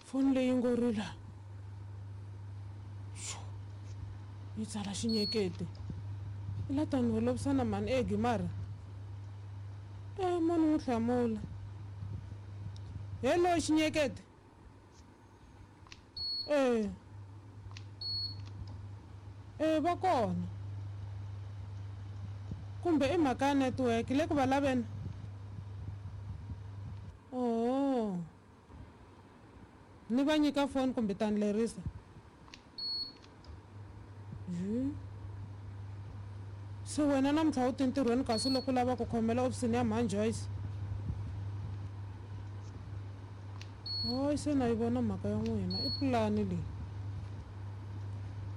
Foni leyi ngo rila. Xo. Yi tsala xinyekete. I la ta ni holovisana mhani Egi mara. E mo ni n'wi hlamula. Hello xinyekete. E. E va kona. Kumbe i mhaka ya network le ku va laveni. Oho. Ni va nyika foni kumbe ta ni lerisa? Jhu. Se wena namuntlha u ti ntirhweni kasi loko u lava ku khomela ofisini ya mhani Joyce? Hayi se na yi vona mhaka ya n'wina i pulani leyi.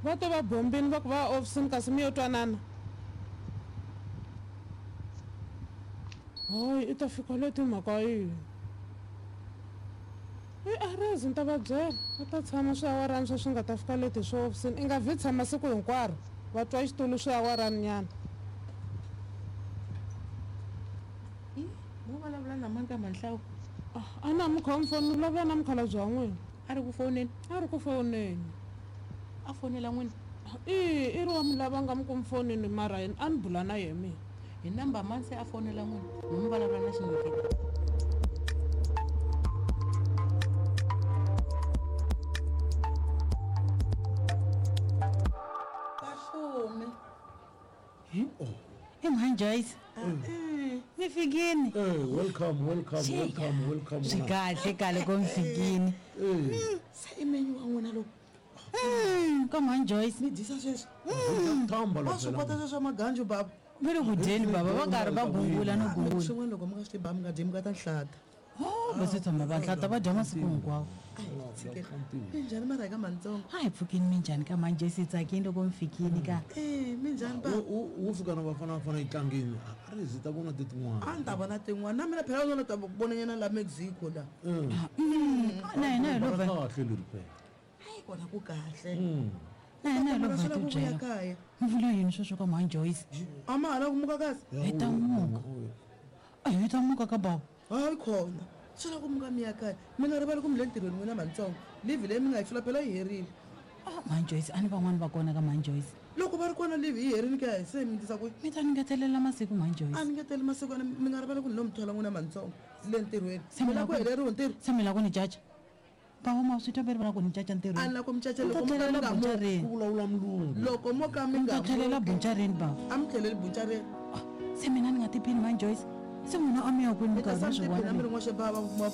Va te va bombini va ku va ya ofisini kasi mi yo twanana. Hayi i ta fika leti mhaka yini? I arezi ni ta va byela va ta tshama swiawarani swa swi nga ta fika leti swo ofisini i nga vhi tshama siku hinkwaro va twa xitulu swiawarani nyana. Mo vulavula na mani ka Manhlawu? A na mi khomi foni ni vulavula na mukhalabye wa n'wina. A ri ku foneni? A ri ku foneni. A fonela n'wina? I i ri wa mi lava nga mi kumi fonini mara yena a ni bula na yena mina. Hi number mani se a fonela n'wina mi mi vulavula na xinyekete? Vafumi. I mhani Joyce. Mi fikini. Eh, welcome, welcome, welcome, welcome. Swi kahle kale ko mi fikini. Eh, Se i menyu wa n'wina lowu. Ka mhani Joyce. Mi dyisa sweswi. Thamba Wa swi kota sweswo maganju baba. Va le ku dyeni baba va karhi va gungula no gungula. Swin'wana loko mi nga swi tivi baba mi nga dyi mi nga ta nhlata. Va se tshama va nhlata va dya masiku hinkwawo. Minjhani mara ka mantsongo? A hi pfukini minjhani ka mhani Joyce hi tsakini loko mi fikini ka. Eh, minjhani ba? Wo fika na Bafana Bafana yi tlangeni a ri zi ta vona ti tin'wana. A ni ta vona tin'wana na mina phela u ta vonanyana la Mexico la. Na hina hi lo kahle leri phela. Hayi kona ku kahle. Na hina hi lo Swi lava ku vuya byela. kaya. Mi vula yini sweswo ka mhani Joyce? A ma ha lava ku muka kasi? Hi ta muka. A hi ta muka ka baba. Hayi khona. Swi lava ku muka mi ya kaya. Mi nga rivali ku mi le ntirhweni n'wina mantsongo. Leave leyi mi nga yi fila phela yi herile. Ah, mhani Joyce a ni van'wani va kona ka mhani Joyce. Loko va ri kona leave yi herile kaya se mi tisa kwihi? Mi ta ni ngetelela masiku mhani Joyce. A ni ngeteli masiku mi nga rivali ku ni lo mi thola n'wina mantsongo le ntirhweni. Se Mi lava ku heleriwa ntirho? Se mi lava ku ni caca? Baba ma swi twa ve ri va lava ku ni caca ntirhweni. A ni lava ku mi caca Mi ta loko mo ka mi tlhelela nga muki. buncareni. Ku vulavula mulungu. Loko mo ka mi Mi nga ta tlhelela muki. buncareni baba. A mi tlheleli buncareni. Se mina ni nga tiphini mhani Joyce. Se n'wina a mi ya kwini Mi ta minkarhi sala mi mi swi tiphina vona mi ri n'wexe baba ma.